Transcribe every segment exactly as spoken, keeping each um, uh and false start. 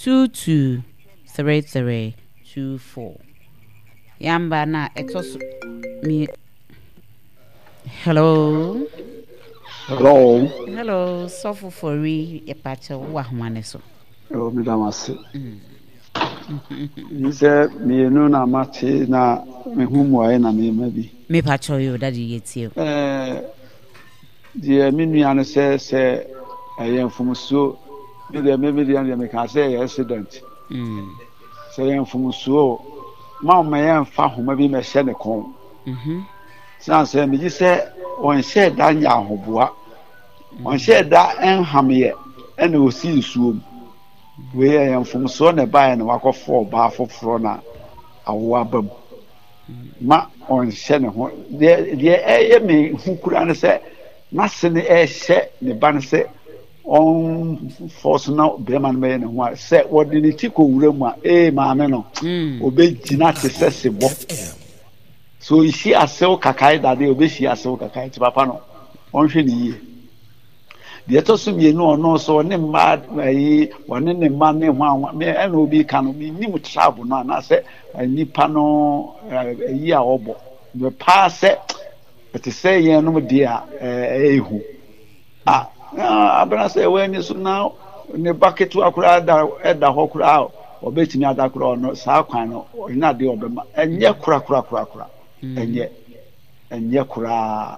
two two three three two four. Yamba na ɛtɔ so mi. Hello. Hello. Hello, sɔfo Fori, yɛpakyɛ wo ahoma ne so. Oh, meda mo ase. Yi sɛ mmienu na mate na mehu mmuaeɛ na mema bi. Mepakyɛ yo, daddy, yɛtie o. Ɛɛ, deɛ me nua no sɛ sɛ ɛyɛ mfomsoɔ, me deɛ me me deɛ deɛ meka sɛ ɛyɛ accident. Mm. Sɛ ɛyɛ mfomsoɔ, ma ɔma yɛmfa homa bi mɛhyɛ ne kɔn. Mhm. San sɛ megye sɛ ɔnhyɛ da nyɛ ahoboa, ɔnhyɛ da nhameɛ ɛna osi nsuo mu. Wei ɛyɛ mfomsoɔ na ɛbaeɛ na wakɔfa ɔbaa foforɔ na awo aba mu. Ma ɔnhyɛ ne ho. Deɛ deɛ ɛyɛ me hu kura ne sɛ n'ase no ɛhyɛ ne ba no sɛ ɔnfɔ so na bɛrima no bɛyɛ ne ho a, sɛ wɔde ne ti kɔ wura mu a, ee, maame no Mm. obɛgyina te sɛ sebɔ. So ɔnsi asew kakae dade, obɛsi asew kakae. Nti papa no ɔnhwɛ ne yie. Deɛ ɛtɔ so mmienu, ɔno nso ɔne mmaa ayi, ɔne ne mma ne ho anwa me ɛna obi ka no, menim travel no anaasɛ nipa no ayi a ɔbɔ mɛ paa sɛ ɛte sɛ yɛn nom deɛ a ɛyɛ hu a abena sɛ ɛwɔ ani so na ne ba ketewa koraa da ɛda hɔ koraa, ɔbɛtumi ada koraa. Ɔno saa kwan no ɔnyɛ adeɛ ɔbɛma ɛnyɛ kora kora kora kora, ɛnyɛ ɛnyɛ koraa.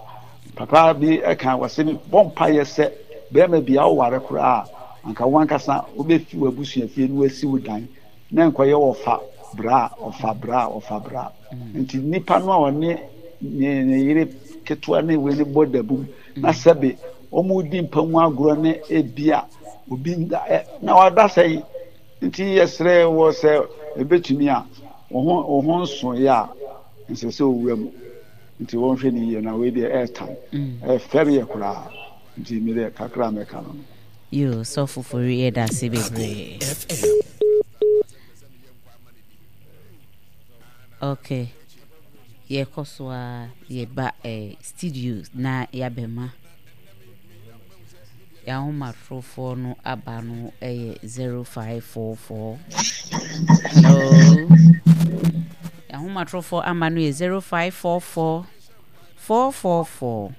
Papa bi ɛka wɔsɛ bɔ mpaeɛ sɛ bɛrima bi a ɔware koraa, anka wɔn ankasa wobɛfi w'abusua fie na wasi wo dan na nkɔyɛ ɔfa bra, ɔfa bra, ɔfa bra. Nti nipa no a ɔne ne ne yere ketewa ne wei ne bɔ dabum na sɛbe wɔn di mpa mu agorɔ ne ebia obi nda ɛ na wada sɛn. Nti yɛsrɛ wɔ sɛ ebetumi a wɔn ho wɔn ho nso yɛ a nsɛ sɛ owura mu. Nti wɔnhwɛ ne yie na wei deɛ ɛɛtan ɛfɛre yɛ koraa. Nti mi deɛ kakra mɛka no no. Yo, sɔfo Fori, yɛda ase bebree. Okay, yɛkɔ so a yɛba eh, studio na yɛabɛma yɛahomatorofoɔ no aba no ɛyɛ zero five four four. Hello, yɛahomatorofoɔ aba no yɛ zero five four four four four four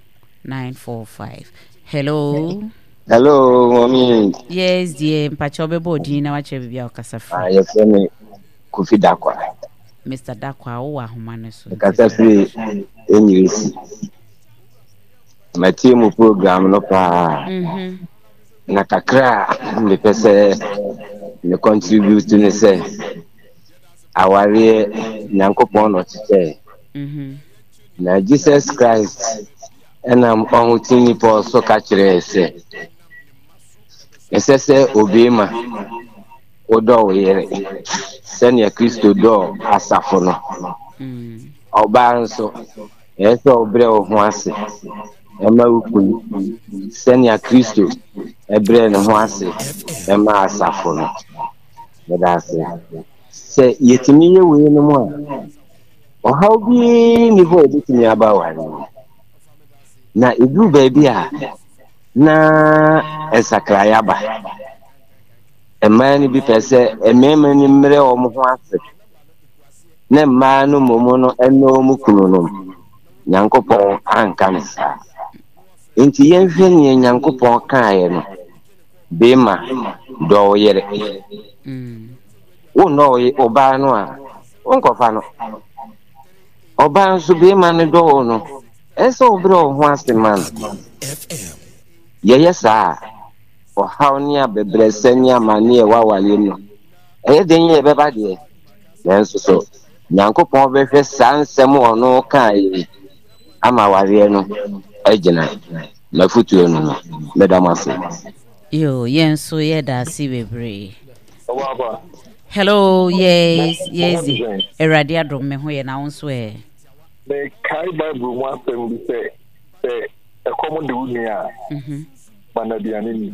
nine four five. Hello. Hello, mommy. Yes dear, mpakyɛ wobɛbɔ odin na wakyerɛ biribi a wokasa Ah, firi. Yɛfrɛ me Kofi Dakwa. Mister Dakwa, wowɔ ahoma no so. Mekasa firi Enyirisi. Matie mu program no paa. Mhm. Na kakra a mepɛ sɛ me contribute ne sɛ awareɛ, Nyankopɔn na ɔkyekyɛe. Mhm. Na Jesus Christ ɛnam ɔhoteni Paul so ka kyerɛɛ sɛ ɛsɛ sɛ obeema wodɔ wo yere sɛnea Kristo dɔɔ asafo no. Mm. Ɔbaa nso, ɛyɛ sɛ ɔbrɛ wo ho ase ɛma wo kunu sɛnea Kristo ɛbrɛ ne ho ase ɛma asafo no. Meda ase. Sɛ yɛtumi yɛ wei no mu a, ɔhaw bi nni hɔ a ɛbɛtumi aba aware mu. Na ɛduru baabi a na nsakraeɛ aba, mmaa no bi pɛ sɛ mmarima no mmerɛ wɔn ho ase na mmaa no mmom no ɛne wɔn kunu no. Nyankopɔn anka ne saa. Nti yɛnhwɛ nea Nyankopɔn kaeɛ no: bɛrima, dɔ wo yere. Mm. Wonnɔ wo ye- ɔbaa no a, wonkɔfa no. Ɔbaa nso, bɛrima no dɔ wo no, ɛsɛ sɛ wobrɛ wo ho ase ma no. Yɛyɛ saa a, ɔhaw ne abɛbrɛsɛ ne amanne a ɛwɔ awareɛ mu no, ɛyɛ den yɛ ɛbɛba deɛ, nanso so Nyankopɔn bɛhwɛ saa nsɛm a ɔno kaa yi ama awareɛ no agyina. Mafotuo no no mɛda mo ase. Yo, yɛn nso yɛda ase bebree. Hello, yes yes Awurade adom, me ho yɛ, na wo nso ɛ? Mekae Bible mu asɛm bi sɛ sɛ ɛkɔm de wo nua a, Mhm, ma no aduane ni.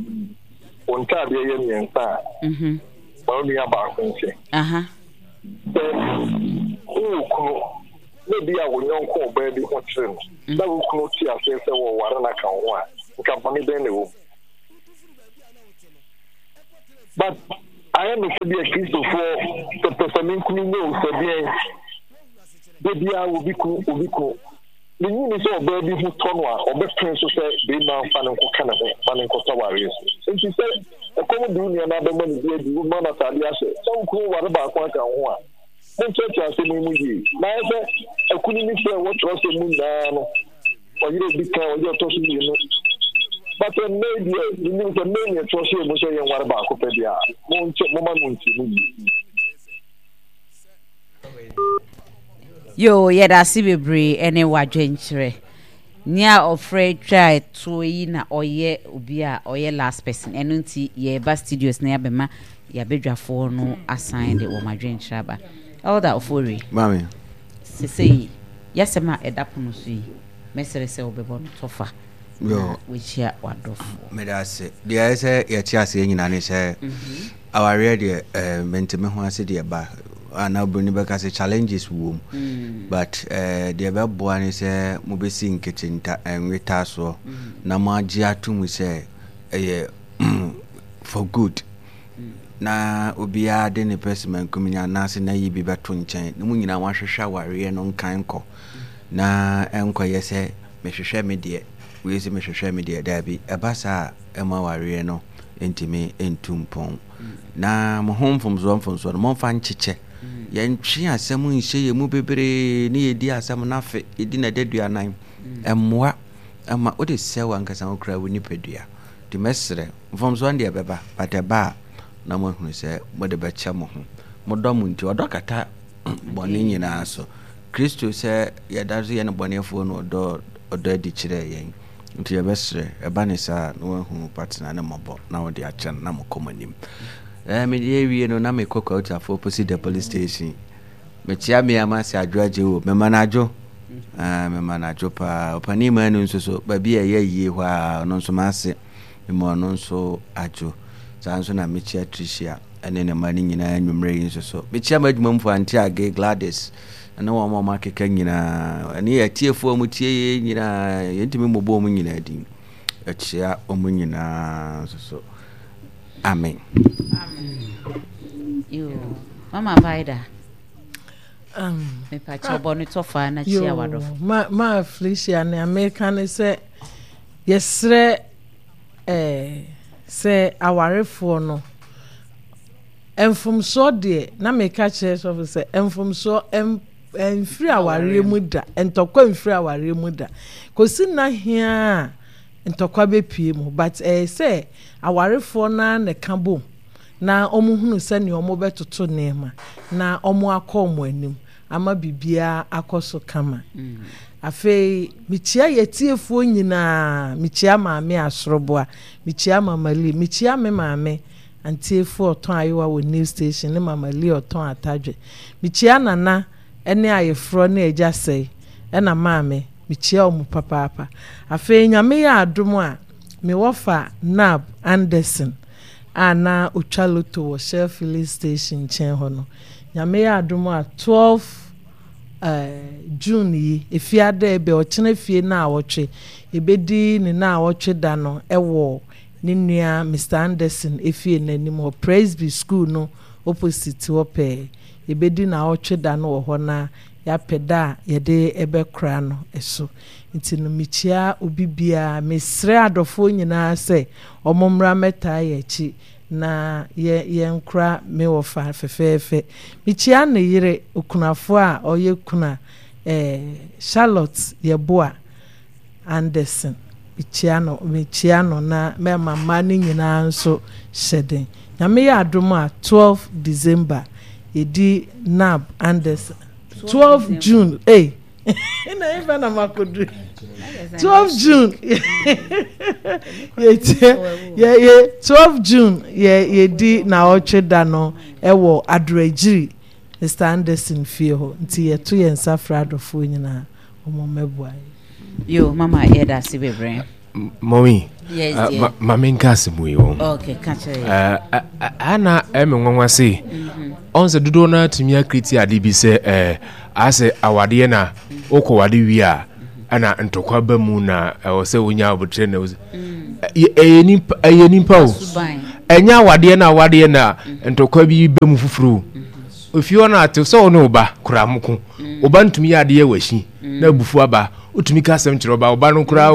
Wo ntaadeɛ yɛ mmiɛnsa a, mhm. ma wo nua baako nhyɛ. Aha sɛ wowɔ kunu na bi a wo nyɔnko ɔbaa bi ho kyerɛ no na wo kunu te aseɛ sɛ wɔware no aka wo ho a, nka bɔne bɛn na ɛwɔ mu? But Ayɛ me sɛ bi a Kristofoɔ pɛpɛsɛmenkomi nyɛ o, sɛ deɛn. Da biara obi kunu, obi kunu. Minnye nni sɛ ɔbaa bi ho tɔ no a, ɔbɛpene so sɛ barima mfa no nkɔka ne ho ma no nkɔtɔ awareɛ so. Enti sɛ ɛkɔm de wo nua na abɛma no bi adi, woma no atade ahyɛ, sɛ wo kunu ware baako aka wo ho a, monkyerɛkyerɛ asɛm yi mu yie. Na ayɛ sɛ akunini sɛ ɛwɔ twerɛsɛm mu nyinaa no, ɔyere a ɔdi kan, ɔyere a ɔtɔ so mmienu. But ɛnnɛ yi deɛ, menim sɛ nnɛ yi na ɛtwerɛ hyɛɛ mu sɛ yɛnware baako pɛ deɛ a, monkyɛ, momma no nkyerɛ mu yie. Yoo, yɛda ase bebree ɛne w'adwenkyerɛ. Nea ɔfrɛ twa toɔ yi na ɔyɛ obi a ɔyɛ last person. Ɛno nti yɛreba studios na yɛabɛma yɛabadwafoɔ no asan de wɔn adwenkyerɛ aba. Elder Ofori. Maame. Sesei yɛasɛm a ɛda pono so yi, mɛsrɛ sɛ wobɛbɔ no tɔfa na wakyia w'adɔfoɔ. Meda ase. Deɛ ɛyɛ sɛ yɛte aseɛ nyinaa ne sɛ mhm. Awareɛ deɛ eh, mente me ho ase deɛ ba anaa obroni bɛka sɛ challenges wom mm. but eh, deɛ bɛboa ne sɛ mobɛsi nkete nta nweta soɔ mm. na moagye ato mu sɛ ɛyɛ for good mm. na obiara de ne pɛsɛmenkominya anaasɛ n'ayi bi bɛto nkyɛn na mo nyinaa moahwehwɛ awareɛ no nkan kɔ na ɛnkɔyɛ sɛ mehwehwɛ me deɛ wei sɛ mehwehwɛ me deɛ daabi ɛba saa a ɛma awareɛ no ntumi ntu mpɔn. Na mo ho mfomsoɔ mfomsoɔ no, momfa nkyekyɛ. Yɛntwe asɛm nhyɛ yɛn mu bebree ne yɛdi asɛm no afe, yɛdi no adaduanan. Ɛmmoa ɛma wode sɛ w'ankasa wo koraa wo nipadua. Nti mɛsrɛ, mfomsoɔ no deɛ ɛbɛba, but ɛba a na moahunu sɛ mode bɛkyɛ mo ho. Modɔ mo nti, ɔdɔ kata bɔne nyinaa so. Kristo sɛ yɛda so yɛ nnebɔneyɛfoɔ no ɔdɔ ɔdɔ adi kyerɛɛ yɛn. Nti yɛbɛsrɛ, ɛba ne saa a, na woahu wo partner no mmɔbɔ na wode akyɛ no na mokɔ mo anim. Ɛɛ mede awie no na mekɔ Kwautafo opposite the police station. Mekyea me ama sɛ adwo agye o, mema no adwo. Ɛɛ mema no adwo paa. Ɔpanin Manu nso so, baabi a ɛyɛ yie hɔ a, ɔno nso m'ase. Mema ɔno nso adwo. Saa nso na mekyea Tricia ne ne mma no nyinaa anwummerɛ yi nso so. Mekyea m'adwumamfoɔ Auntie Age, Gladys, ne wɔn a wɔakeka nyinaa, ɛne yɛn atiefoɔ a wɔtie yɛn nyinaa, yɛntumi mmobɔ wɔn nyinaa din. Ɛkyea wɔn nyinaa nso so. Amen. Amen. Mama Vida. Um, Mepakyɛ bɔ no tɔfa na kyia wadɔfo. Ma ma Felicia ne Amerika ne sɛ yɛsrɛ eh, sɛ awarefoɔ no Mfomsoɔ deɛ, na meka kyerɛ sɔfo sɛ, mfomsoɔ mfiri awareɛ mu da, ntɔkwa mfiri awareɛ mu da. Kɔsi nna heaa a ntɔkwa bɛpue mu, but ɛyɛ sɛ awarefoɔ no ara na ɛka bom na wɔhunu sɛdeɛ wɔbɛtoto nneɛma na wɔakɔ wɔn anim ama biribiara akɔ so kama. Afei, mekyia yɛtiefoɔ nyinaa, mekyia Maame Asoroboa, mekyia Mama Lee, mekyia me maame Antiefo ɔtɔn ayewa wɔ New Station ne Mama Lee ɔtɔn atadwe. Mekyia Nana ne ayeforɔ ne Agya Sɛe ɛna Maame. Mekyia wɔn papaapa. Afei Nyame yɛ adom a, me wɔfa Nab Anderson a na ɔtwa loto wɔ Shell Filling Station nkyɛn hɔ no, Nyame yɛ adom a twelve June yi, Efiada ɛbɛ, ɔkyena fie naawɔtwe, yɛbɛdi ne naawɔtwe da no wɔ ne nua Mister Anderson efie no anim hɔ, Presby School no opposite hɔ pɛɛ. Yɛbɛdi naawɔtwe da no wɔ hɔ na yɛapɛ da a yɛde bɛkora no so. Nti no mekyia obi biara, mesrɛ adɔfoɔ nyinaa sɛ wɔn mmra mmɛtaa yɛn akyi na yɛ yɛnkora me wɔfa fɛfɛɛfɛ. Mekyia ne yere, okunafoɔ a ɔyɛ kuna, eh, Charlotte Yeboah. Anderson, mekyia no, mekyia no na mɛma mma no nyinaa nso hyɛ den. Nyame yɛ adom a, twelve December, yɛdi Nab Anderson, twelve June, ei, na ɛmfa na makɔduru, twelve June, yɛtie, yɛ, yɛ, twelve June, yɛ, yɛdi naawɔtwe da no ɛwɔ Adoragyiri, Mister Anderson fie hɔ, nti yɛto yɛn nsa frɛ adɔfoɔ nyinaa. Ɔmo mmɛboa yɛn. Yo, mama yɛda ase bebree. Mɔmi, Yes, uh, dear. ma, ma menka asɛm yi wɔ. Okay, ka kyerɛ yɛ. Uh, uh, ana ɛme nwanwa se ɔn sɛ dodoɔ no atumi akriti ade bi sɛ eh, asɛ awadeɛ na wokɔ wade wie a ɛna ntɔkwa ba mu na ɛwɔ sɛ wonya abotrɛ na ɛyɛ nipa ɛyɛ nipa o Ɛnyɛ awadeɛ na awadeɛ na ntɔkwa bi bɛ mu foforo. Ofie hɔ no ate sɛ wo ne wo ba koraa mo ko. Wo ba ntumi yɛ adeɛ wɔ akyi na abufuo aba. Wotumi ka asɛm kyerɛ ɔba, ɔba no koraa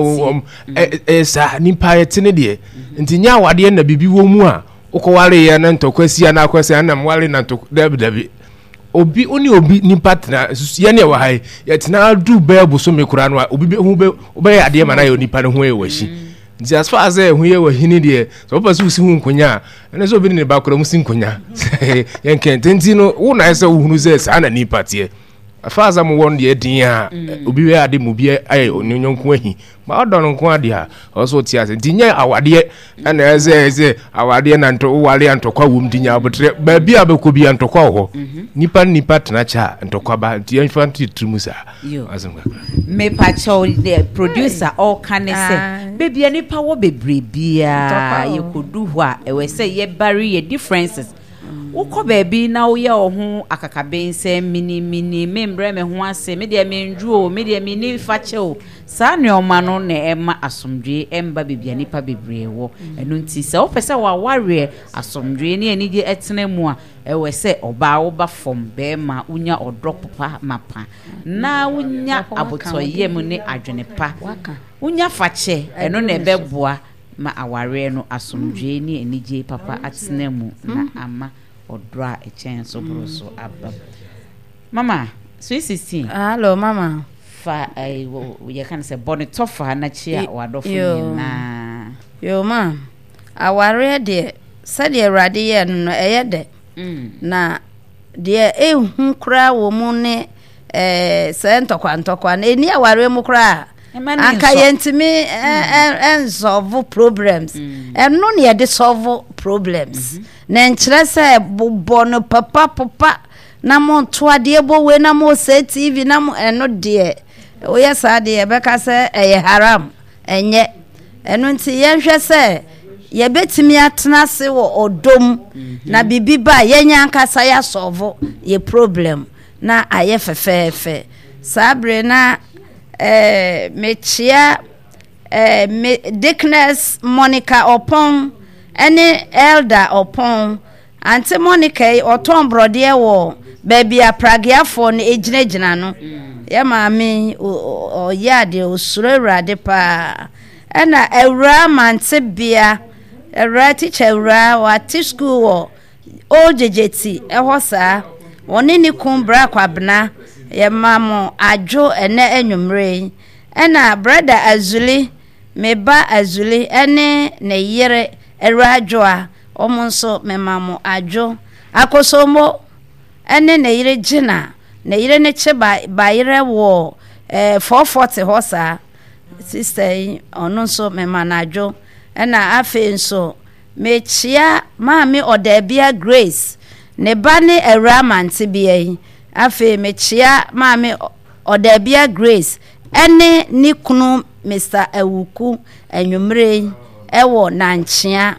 ɛyɛ saa nipa yɛte ne deɛ. Nti nyɛ awadeɛ na biribi wɔ mu a wokɔwareeɛ na ntɔkwa si anaa akɔ sɛ ɛna mware na ntɔkwa dabi dabi. Obi wo ne obi nipa tena yɛne ɛwɔ ha yi yɛtena du bɛɛ bosome koraa no a obi bɛ ho bɛ wobɛyɛ adeɛ ma no ayɛ onipa no ho yɛ wɔ akyi. Nti as far as ɛho yɛ wɔ hini deɛ sɛ wopɛ sɛ wosi ho nkonya a ɛne sɛ obi ne ne ba koraa mu si nkonya yɛnkɛ nti no wo na ɛsɛ wohunu sɛ saa na nipa teɛ. As far as mowɔ no deɛ den a mm. obi bɛyɛ ade mu obi ayɛ ne yɔnko ahi ma ɔdɔ no nko adeɛ a ɔwɔ sɛ ɔte ase nti nyɛ awadeɛ ɛna ɛsɛ ɛsɛ awadeɛ na ntɔ woware a ntɔkwa wɔ mu nti nya abotrɛ baabi a bɛkɔ bi a ntɔkwa wɔ hɔ mhm. nipa ne nipa tena kyɛ a ntɔkwa ba nti yɛmfa nto tiri mu saa asɛm kakra. Mepakyɛw the producer ɔka ne sɛ baabi a nipa wɔ bebree biara yɛkɔdu hɔ a ɛwɔ sɛ yɛbare yɛ differences. Wokɔ baabi na woyɛ wo ho akakaben sɛ minimini, membrɛ me ho ase, me deɛ mendwo o, me deɛ menni fakyɛ o. Saa nneɛma no na ɛmma asomdwoe mma baabi a nnipa bebree wɔ. Ɛno nti, sɛ wopɛ sɛ w'awareɛ, asomdwoe ne anigye tena mu a, ɛwɔ sɛ ɔbaa woba fam, barima wonya ɔdɔ pa mapa, na wonya abotɔyam ne adwene pa. Wonya fakyɛ, ɛno na ɛbɛboa ma awareɛ no asomdwoeɛ ne anigyeɛ papa atena mu na ama ɔdɔ a ɛkyɛn so boro so aba mu. Mama, sweet sixteen. Hello, mama. Fa eh, yɛka no sɛ bɔ ne tɔfa na kyia w'adɔfo nyinaa. Yo, ma. Awareɛ deɛ, sɛdeɛ Awurade yɛɛ no no, ɛyɛ dɛ. Mm. Na deɛ ɛhu koraa wɔ mu ne eh, sɛ ntɔkwa ntɔkwa no, ɛni awareɛ mu koraa. Anka yɛntumi ɛnsɔlvo problems. Mm. Ɛno na yɛde sɔlvo problems. Mm-hmm. Na nkyerɛ sɛ bobɔ no papa popa na mo nto adeɛ bɔ wei na mo sɛ T V na mo ɛno deɛ woyɛ saa deɛ yɛbɛka sɛ ɛyɛ haram ɛnyɛ. Ɛno nti yɛnhwɛ sɛ yɛbɛtumi atena ase wɔ ɔdɔ mu mm-hmm. na biribi ba a yɛnyɛ ankasa yɛasɔlvo yɛ problem na ayɛ fɛfɛɛfɛ. Saa bere na eh, mekyea eh, me Deaconess Monica Ɔpɔn ne Elder Ɔpɔn. Ante Monica yi, ɔtɔn borɔdeɛ wɔ baabi a prageafoɔ no gyinagyina no. Yɛ maame yi, ɔyɛ adeɛ, ɔsuro Awurade paa. Ɛna Awuraa Mantebea, Awuraa, tikya Awuraa, wate sukuu wɔ Old Gyegyeti hɔ saa. Ɔne ne kun Bra Kwabena, yɛma mo adwo ɛnɛ anwummere yi. Ɛna Brɛda Azuli, me ba Azuli ne ne yere Awuraa Adwoa, wɔn nso mema mo adwo. Akosombo ne ne yere Gina, ne yere ne kye ba bayerɛ wɔ eh, four forty hɔ saa. Sista yi, ɔno nso mema no adwo. Ɛna afei nso, Mekyea Maame Ɔdaabia Grace, ne ba ne Awuraa Mantebea yi. Afei mekyea Maame Ɔdaabia Grace ne ne kunu Mister Awuku anwummere yi wɔ Nankyea.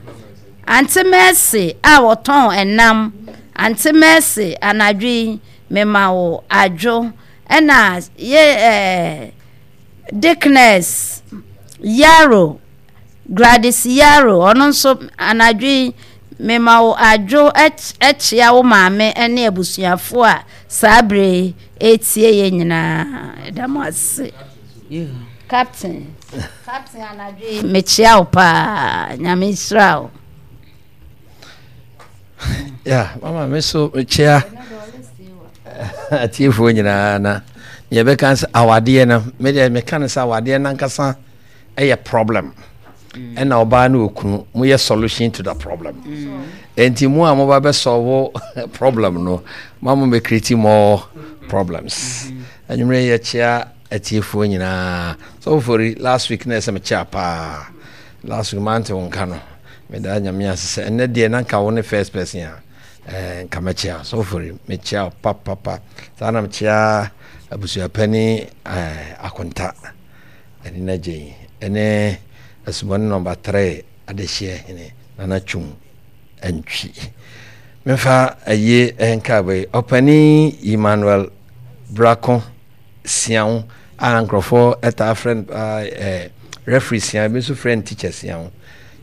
Ante Mercy a ɔtɔn ɛnam, Ante Mercy anadwo yi mema wo adwo. Ɛna yɛ ɛɛ Dickness Yaro Gladys Yaro, ɔno nso anadwo yi mema wo adwo kyea wo maame ne abusuafoɔ a saa berɛ yi ɛretie yɛn nyinaa. Ɛda mo ase. Captain, Captain anadwo yi mekyea wo paa. Nyame nhyira wo. Yeah, mama me so mekyea atiefoɔ nyinaa na yɛbɛka sɛ awadeɛ no medeɛ meka no sɛ awadeɛ no ankasa ɛyɛ problem ɛna ɔbaa ne okunu mo yɛ solution to the problem nti mo a mo ba bɛ solve problem no ma mo bɛ create more problems anwummerɛ yɛ kyea atiefoɔ nyinaa sɔfofori last week na ɛsɛ me kyea paa last week mante wo nka no meda Nyame ase sɛ ɛnɛ deɛ na nka wo ne first person a eh, nka mɛkyea sɔfofori mekyea papapa saa na mekyea abusuapani eh, akonta Ɛne n'agya yi ne Asubɔne Nɔmba Three Adehyeɛ Hene Nana Twum Antwi. Memfa ayie nkaabɔ yi, Ɔpanin Emmanuel Brako Siaw a nkurɔfoɔ taa frɛ no paa ɛɛ referee Siaw, ebi nso frɛ no teacher Siaw.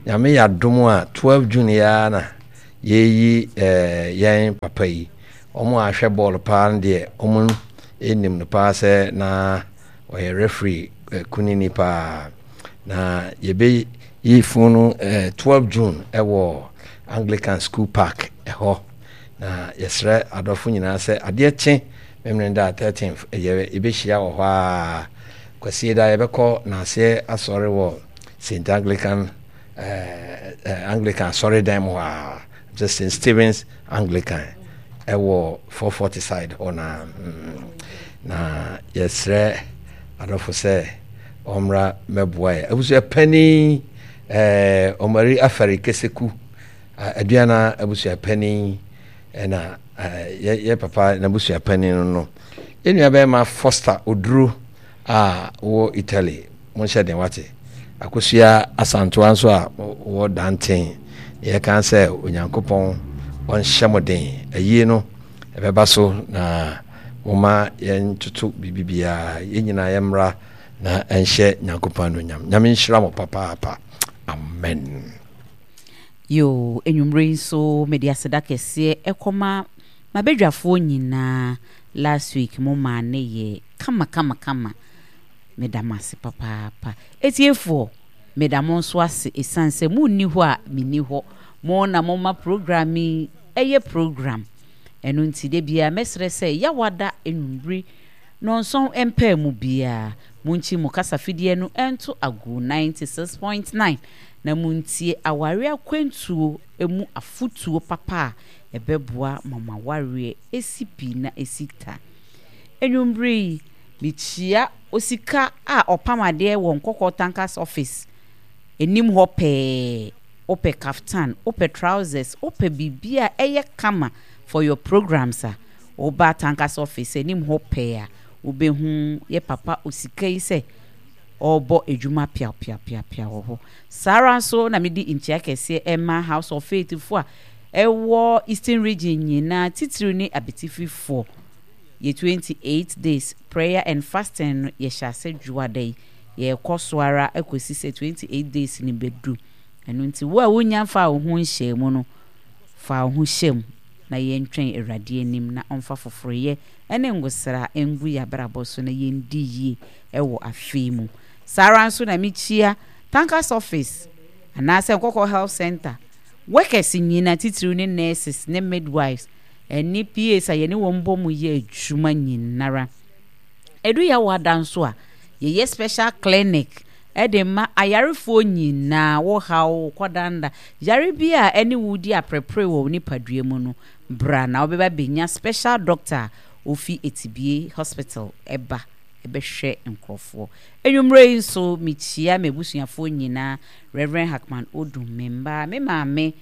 Nyame yɛ adom a twelve June yi ara na yɛyi eh, yɛn papa yi. Wɔn a ahwɛ bɔɔl paa no deɛ wɔn nim no paa sɛ na ɔyɛ referee eh, kunini paa. Na yɛbɛyi funu no eh, twelve June ɛwɔ Anglican School Park ɛhɔ. Na yɛsrɛ adɔfo nyinaa sɛ adeɛ kye Memeneda thirteenth yɛ yɛbɛhyia wɔ hɔ ara. Kwasieda yɛbɛkɔ Naaseɛ asɔre wɔ Saint Anglican eh, eh, Anglican asɔredan mu hɔ ara. Sɛ Saint Stephen's Anglican ɛwɔ four forty side hɔ na mm, na yɛsrɛ adɔfo sɛ ɔmmra mɛboa yɛ. Abusua panin eh, Ɔmari Afari Keseku Aduana abusua panin ɛna yɛ yɛ papa n'abusua panin no no. Yɛn nua bɛrima Foster Oduro a wɔ Italy, monhyɛ den wate. Akosua Asantoa nso a wɔ Danten, yɛka sɛ Onyankopɔn ɔnhyɛ mo den. Ayie no ɛbɛba so na moma yɛntoto biribi biara, yɛn nyinaa yɛmmra na ɛnhyɛ Nyankopɔn anuonyam. Nyame nhyira mo papaapa. Amen. Yoo, anwumerɛ yi nso mede aseda kɛseɛ ɛkɔma m'abadwafoɔ nyinaa, last week mo maa ne yɛɛ kama kama kama, meda mo ase papaapa. Atiefoɔ, meda mo nso ase ɛsiane sɛ mo nni hɔ a menni hɔ, mo na mo ma program yi ɛyɛ program, ɛno nti da biara mɛsrɛ sɛ Yawada anwummere nnɔnson mpaa mu biara monkyi mo kasafidie no nto agu ninety six point nine na montie aware akwantuo mu afotuo papa a ɛbɛboa ma mo awareɛ asi pi na asi ta. Anwummere yi, mekyia osika a ɔpam adeɛ wɔ Nkɔkɔɔ Tankers Office anim hɔ pɛɛ. Wopɛ kaftan, wopɛ trousers, wopɛ biribi a ɛyɛ kama for your programs a, woba Tankers Office anim hɔ pɛɛ a, wobɛhu yɛ papa osika yi sɛ ɔrebɔ adwuma piapiapiapia wɔ hɔ. Saa ara nso na mede nkyia kɛseɛ rema House of Faith foɔ a ɛwɔ Eastern Region nyinaa, titiriw ne Abetififoɔ. Yɛ twenty eight days prayer and fasting no yɛhyɛ ase Dwoada yi, yɛrekɔ so ara kɔsi sɛ twenty eight days no bɛdu. Ɛno nti wo a wonnya mfaa wo ho nhyɛɛ mu no, fa wo ho hyɛ mu na yɛntwɛn Awurade anim na ɔmfa foforoyɛ ne ngosra ngu yɛn abrabɔ so na yɛndi yie wɔ afe yi mu. Saa ara nso na mekyia Tankers Office anaasɛ Nkɔkɔ Health Centre workers nyina, titiriw ne nurses ne midwives ne P As a yɛne wɔn bɔ mu yɛ adwuma nyinara. Ɛdu Yawada nso a, yɛyɛ special clinic de ma ayarefoɔ nyinaa, wo haw, wo kɔdanda, yare bi a ɛne wo di aprepre wɔ wo nipadua mu no, bra na wobɛba bɛnya special doctor a ofi Etibie Hospital ba bɛhwɛ nkorɔfoɔ. Anwummerɛ yi nso, mekyia m'abusuafoɔ nyinaa, Rev. Hackman Odum, me mma, me maame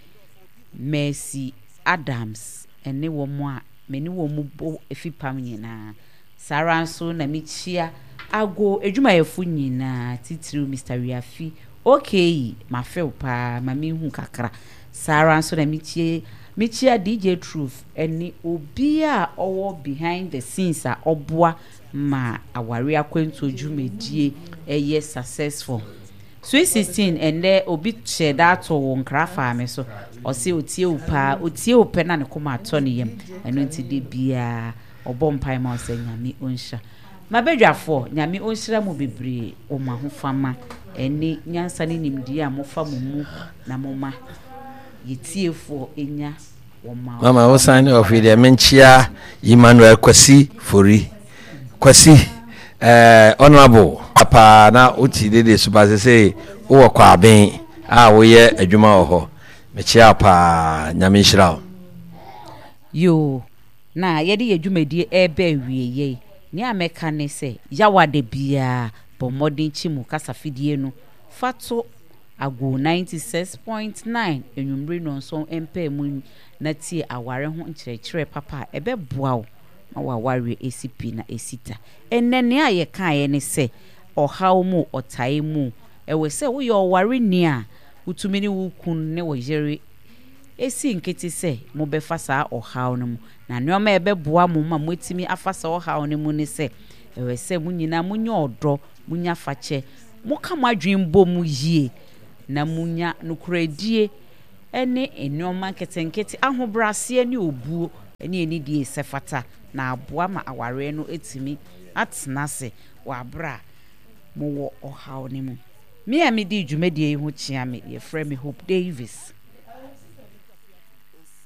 Mercy Adams ne wɔn a me ne wɔn bɔ fipam nyinaa. Saa ara nso na mekyia Ago adwumayɛfo nyinaa, titiriw Mister Wiafi, okay, mafe wo paa, ma minhu kakra. Saa ara nso na mekyia mekyia D J Truth ne obiara a ɔwɔ behind the scenes a ɔboa ma aware akwantuo dwumadie yɛ successful. Sweet sixteen, ɛnnɛ obi hyɛɛ da too wo nkra faa me so, ɔse otie wo paa, otie wo pɛ na ne koma atɔ ne yam, ɛno nti da biara ɔbɔ mpae ma wo sɛ Nyame ɔnhyira. M'abadwafoɔ, Nyame ɔnhyira mo bebree wɔ mo ahofama ɛne nyansa ne nimdeɛ a mofa mo mu na moma yɛtiefoɔ nya wɔ mo Mama wo sign off yi deɛ menkyea Emmanuel Kwasi Fori Kwasi eh, honorable paa na woti dede so ba sese wowɔ Kwaben a woyɛ adwuma wɔ hɔ, mekyea wo paa, Nyame nhyira wo. Yoo, na yɛde yɛn dwumadie reba awieɛ yi, nea mɛka ne sɛ, Yawa da biara bɔ mmɔden kyi mu kasafidie no fa to Ago ninety six point nine anwummere nnɔnson mpaemu na tie aware ho nkyerɛkyerɛ papa a ɛbɛboa wo ma w'awareɛ asi pi na asi ta. Ɛnnɛ nea yɛkaeɛ ne sɛ, ɔhaw mu, ɔtae mu, ɛwɔ sɛ woyɛ ɔwareni a wotumi ne wo kunu ne wo yere si nkete sɛ mobɛfa saa ɔhaw no mu. Na nneɛma a ɛbɛboa mo ma moatumi afa saa ɔhaw no mu ne sɛ, ɛwɔ sɛ mo nyinaa monya ɔdɔ, monya fakyɛ, moka mo adwene bɔ mu yie, na munya nokorɛdie ne nneɛma nketenkete, ahobrɛaseɛ ne obuo ne anidie sɛ fata, na aboa ma awareɛ no atumi atena ase wɔ aberɛ a mowɔ ɔhaw no mu. Me a medi dwumadie yi ho kyea me, yɛfrɛ me Hope Davis.